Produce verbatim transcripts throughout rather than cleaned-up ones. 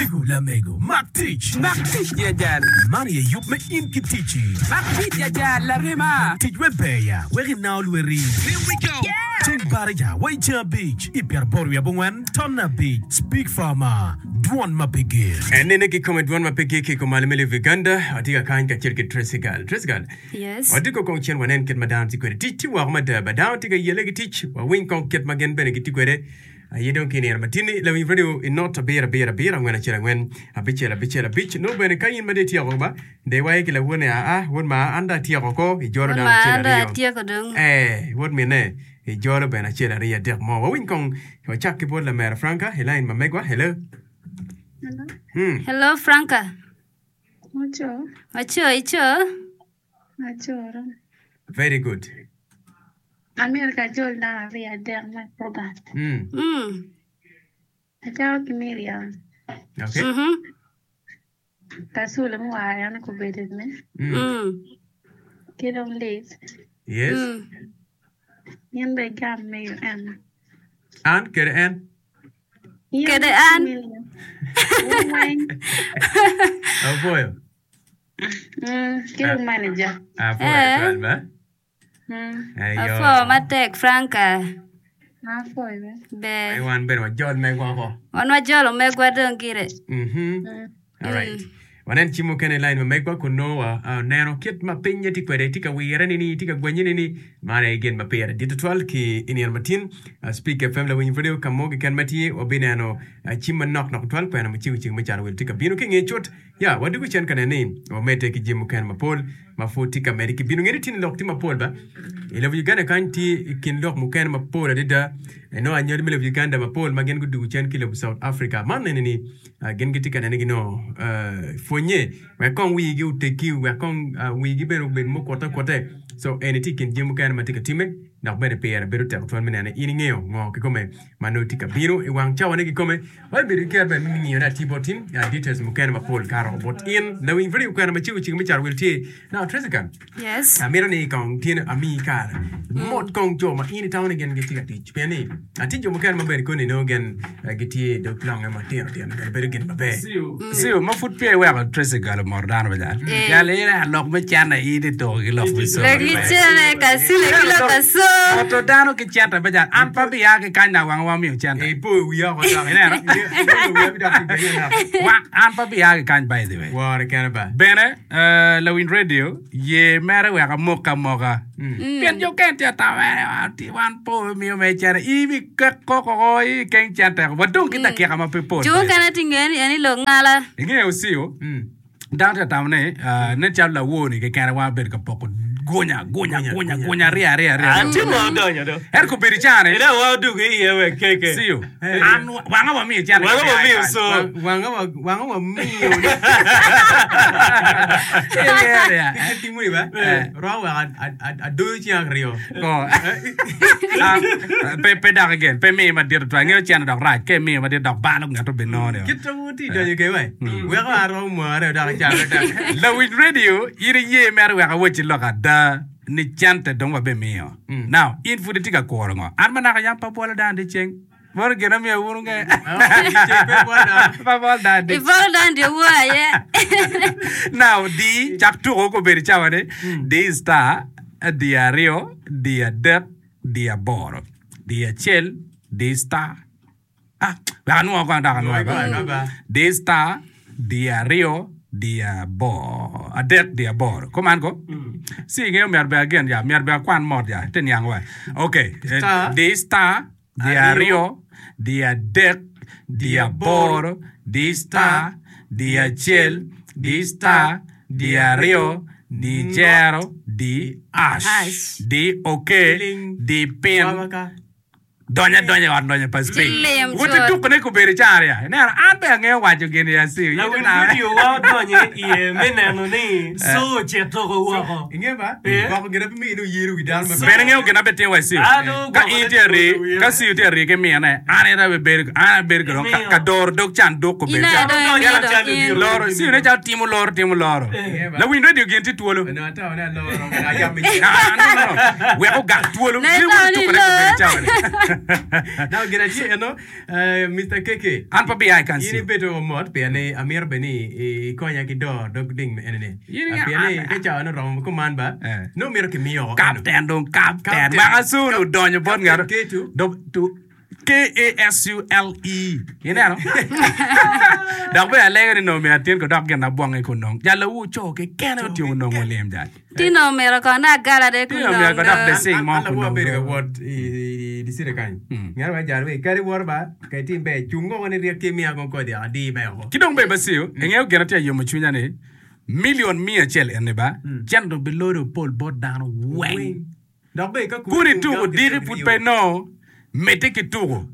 Omego lamego mak tic Mak tic ya jal. Man aye yub me in ki ticci Mak tic ya jal larema. Tic we beya wek inao lweri Here we go. Ceng baraja wa i ceng abic i pyeraboro wiye abongwen ton abic Speak Farmer Dwon ma pe gik. En nene kikome dwon ma pe gik i kom malo me lobo Uganda. Watye ka kany kacel ki Tracy Gal. Tracy Gal, Yes. watye kong cen wanen kit ma dano tye kwede. Tic tye woko mada ba dano tye ka yelle ki tic. Wawiny kong kit ma gin bene gitye kwede. Aye dong ki nino matini lawiny radio i not abiro abiro abiro angwen acel angwen abicel abicel abic. Nongo bene ka in ma dong ityeko ba de iwaco ki lawone aa wod ma an dong atyeko ko ijolo Wod dano ma acel an dong aryo. atyeko dong. Eh, wod mine ijolo bene acel aryo adek mo. Wawiny kong wacak ki bot lamera Franka i line ma megwa. Hello. Hello. Hmm. Hello Franka. Waco. Waco ico. Acoro. Very good. Amyero ka ajol dano aryo adek me program. Mm. Mm. Acako ki Miriam. Okay. Mhm. Kasule muwaro en obedo me. Mm. Mm. Ki dong Liz. Yes. Mm. In bene igam mego en. An kede en. In Kede an. Miriam. Wun weng. Apwoyo. Mm, ki dong manager. Apwoyo Eh. twal ba. Mm. Eyo. Apwo matek Franka. Apwoyo be. Ber. Ai wan bene wajol megwa oko. Wan wajolo megwa dong gire. Mhm. Mm. Alright. Mm. Wanen cim mukene i line ma megwa kun nongo wa uh, neno kit ma pinye tye kwede tye ka wire nini tye ka gwenye nini man aye gin ma pire dit tutwal ki i nino matin uh, Speak F M lawiny radio ka mo keken ma tye wabineno uh, cim manok nok tutwal kwena macego cego me calo wil tye ka bino ki nge cut ya wadugo cen ka neno ni wamedde ki jami mukene mapol ma pud tye ka medde ki bino ngene tye ni lok tye mapol ba i lobo Uganda kany tye i kin lok mukene mapol adada eno anywali me lobo Uganda mapol ma gin gudugo cen ki lobo South Africa man nene ni uh, gin gitye ka nene gino uh, pwonye wek kong wigi oteggi wek kong uh, wigi bene obed mukute kute so eni tye i kin jami mukene ma tye ka timme dok bene pire bedo tek twal me nene in ingeyo ngo kikome ma nongo tye ka bino i wang cawane kikome wabibedo ki ker bene me ngiyone atir bot in uh, details mukene mapol karo bot in lawiny radio kwena macego cego me caro wil tye now Tracy-ka Yes. amito ni kong tye amiyi kare mot kong jo ma in itamo ni gin gitye ka tic pien ni atye jo mukene maber koni nongo gin eh, gitye i dog longe matino tino bene bedo gin maber Siu, ma pud peya iweko Tracy Gal omoro dano ba jal. Eh. Jal in a lok me cene in ituko ki lok me somo. Lok ki cene kasule ki lok kaso. Oto dano ki cente ba jal. An pa biya ki kany na wanga wamiyo cente. ipo i wiya oko dok Ineno? Ipo i wiya dok ibedo nok. Wa, an pa biya ki kany by the way. Wore kene ba Bene, eh, lawiny radio, ye mere wek amok amoka. Pien jo kene tye atamo mere, "Ah, ti wan po miyo me cene." In ikeko koko, in ikeng cente. Wadong ki dakika ma pe pol. Jo mukene tye ngeyo ni en ilok ngala. Ingeyo Siu, dano tye atamo ni, eh, nen calo lawor-ni kekene wan wabedo ka poko gunya, gunya, gunya, gunya, aryo, aryo, aryo. An tye ma odonyo do. Ento kobedo i caa-ni, Ina wa odugo iye wek keke. Siu, an wanga wamiyo cente Wanga ka wamiyo biya i so. kany. Wanga wa- wanga wamiyo Iriyo, ya. Kit timoni ba romo wek a- a- a- adoyo cing aryo Ko. Ah, pe pe dok again pe miyo madit tutwal ingeyo cene dok rac ka imiyo madit dok balo ngat obinongo ni kit romo ti donyo ke we weko an romo mwaka aryo dok acako dok lawiny radio in iye mere wek awacci lok ada ni cente dong wabimiyo now in pud itye ka kuro ngo an manaka yam pa bwolo dano dyeceng meno gin amiyo wun nge Dyeceng pe bwolo dano. pa bwolo dano dyeceng. Ibolo dano dyewor aye. Now di cak tuko kobedo cawa ni di star di aryo di adek di aboro di acel di star ah wek anwo kong dok anwo Anwo ba. di star di aryo di aboro adek di aboro kuman ko si ingeyo myero bene again ya myero bene akwan mot ya te niang wa okay eh, Star. di star di aryo di adek di aboro di star di acel di star di aryo di zero di ash Hash. di ok Ling. di pin Wabaka. donya donya i ot donyo pa Ci Speak. lim Woti cut. tukone kobedo caro ya. Ineno an be angeyo waco gini ya Siu. Lawiny radio wa odonyo iye me neno ni so ocito woko. Inge ba Eh. gwoko gin ape miyo yero wi dano maber Bene ngeyo gin abe timo wa Siu. An dong Ka gwoko in ne tye ari, wiya. ka Siu tye ari ki mine, an ira be bedo, an abedo ka dong ka- Imiyo. ka doro dog canduk In kobedo aye caro. dong Donyo imiyo dong calo in. odiro. Loro, Siu ne calo timo loro, timo loro. Eh. Lawiny radio gin tye twolo. Onongo atamo ni aloro, ayam i Ah, no, no, no. Wek ogak twolo. Ne Gin itamo woti ni tukone kobedo loro. cawa ni. Now gin atye eno eh, Mr. KK. An pa biya i In kansi. ibedo mot pien ni amiro be ni ikonya ki dor dog ding me enene. In Ah, Pien ni nga- ka cawa no romo kuman ba. Eh. No miro kimiyo oko eno. Captain dong captain. Captain. Maka soon odonyo bot Captain ngato. Ketu. Do to K A S U L E. Ineno? Dok be alego ni nongo myero atin ko dok gin abwonge kun nong. Jal awu co kekene otyeko nongo lim jal. Tino omyero kono agala de kun Tino omyero nong ko dok do. de sing mo An kun lawu nong. abedo ka do. wot i i city kany. Mm. Ngaro wa jal we kari wor ba ka tim be chungo ko ni riek ki miya ko kodi adi be oko. Ki dong be basio, ingeo gin atye yomo cwinya ni million mia acel eni ba, cen dong bilodo pol bot dano weng. Dok be ka ku- Kuni tuko ku- diki pud pe no, medde ki tuko.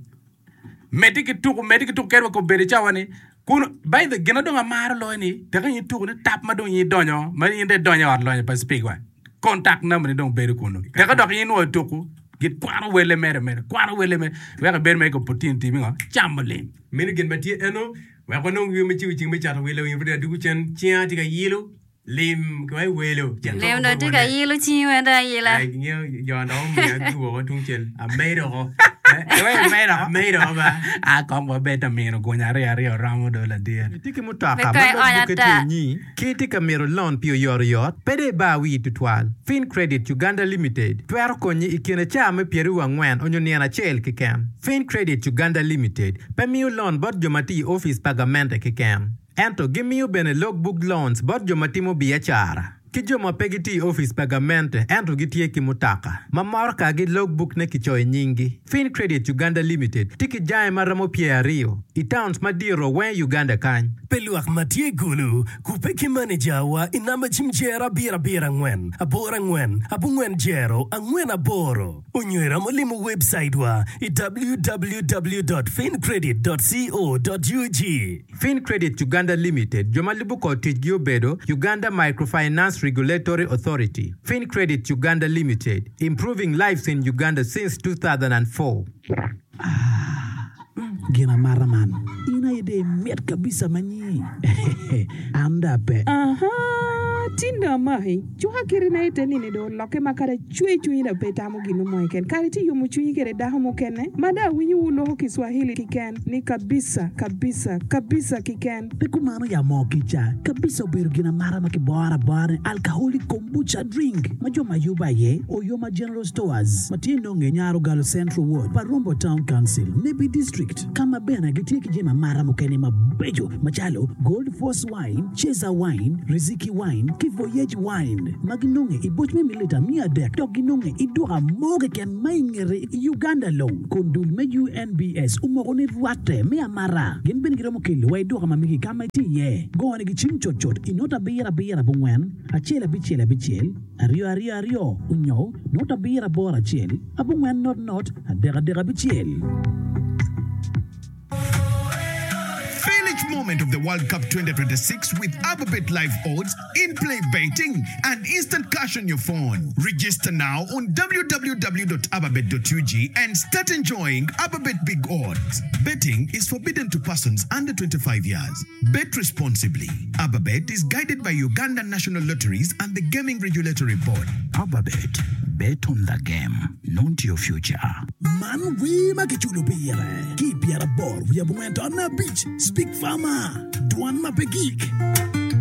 Medde ki tuko, medde ki tuko kadi wa kobedo i cawa ni kun by the gin na dong amaro loyo ni teka in tuko ni tap ma dong in idonyo ma in dong idonyo i ot lonyo pa speak wa. Contact number ni dong bedo kunu. Teka dok in nwoyo tuko gikwano wele mere mere, kwano wele mere wek ibed mere ki opportunity mi ngo camo lim. Meno gin ma tye eno wek wanong yo me ciwo cing me cato welo winy pud adugu cen cinga tye ka yilo lim ki welo Lim dong tye ka yilo cingi weng dong ayila. Ngeo jo dong omiya giwoko tung cel amedo oko Iwe imedo oko. amedo oko ba Ah, kong wabed amino gunya aryo aryo romo do ladit. Itye ki mutoka Be ma ka log ionya bukke ata. tye inyi ki itye ka mito loan pi oyotoyot pede ibar wii tutwal Fin Credit Uganda Limited twero konyi i kine caa me pyeraryo angwen onyo nino acel keken Fin Credit Uganda Limited pe miyo loan bot jo ma tye i ofice pa gamente keken ento gimiyo bene logbook loans bot jo ma timo biacara ki jo ma pe gitye i ofice pa gamente ento gitye ki mutoka ma moro ka gi logbook ne kicoyo i nyinggi Fin Credit Uganda Limited tye ki jange ma romo pyer aryo i towns madiro weng i Uganda kany Pe lwak ma tye gulu kupe ki manejawa i namba cim jero abiro abiro angwen aboro angwen abongwen jero angwen aboro onyo iromo limo website wa i www.fincredit.co.ug Fin Credit Uganda Limited jo ma lubo kod ticgi obedo Uganda Microfinance Regulatory Authority Fin Credit Uganda Limited improving lives in Uganda since two thousand and four. Gin amata man in aye dong imit kabisa manyi an dong ape Aha, tinda amaki cuka kiti na ite nini dong olokke ma kadi acwe cwinyi dong pe itamo gin mo keken kadi tye yomo cwinyi kede dako mukene ma dong awinyo wu loko Kiswahili kiken ni kabisa kabisa kabisa kiken pe kumano ya moo kica kabisa obedo gin amata ma kiboro abora ni alcoholic kombucha drink ma jo ma yubo aye Oyoma General Stores ma tye nonge i Nyarogalo Central Ward pa Rombo Town Council Nebbi District ka ma bene gitye ki jami amata mukene mabeco macalo Gold Force Wine, Cheza Wine, Riziki Wine ki Voyage Wine ma ginonge i boc me mililita mia adek dok ginonge i duka mo keken ma i ngete i Uganda long kun dul me U N B S omoko ni rwatte me amata gin bene giromo kelo wa i duka ma megi ka ma itye iye gone gicim cutcut i not abiro abiro abongwen acel abicel abicel aryo aryo aryo onyo not abiro aboro acel abongwen not not adek adek abicel. Feel each moment of the World Cup twenty twenty-six with Ababet Live Odds, in-play betting, and instant cash on your phone. Register now on w w w dot ababet dot u g and start enjoying Ababet Big Odds. Betting is forbidden to persons under twenty-five years. Bet responsibly. Ababet is guided by Uganda National Lotteries and the Gaming Regulatory Board. Ababet, bet on the game, not your future. Man wer ma kiculo pire ki pyeraboro wiye abongwen to abic Speak Farmer, dwan ma pe gik.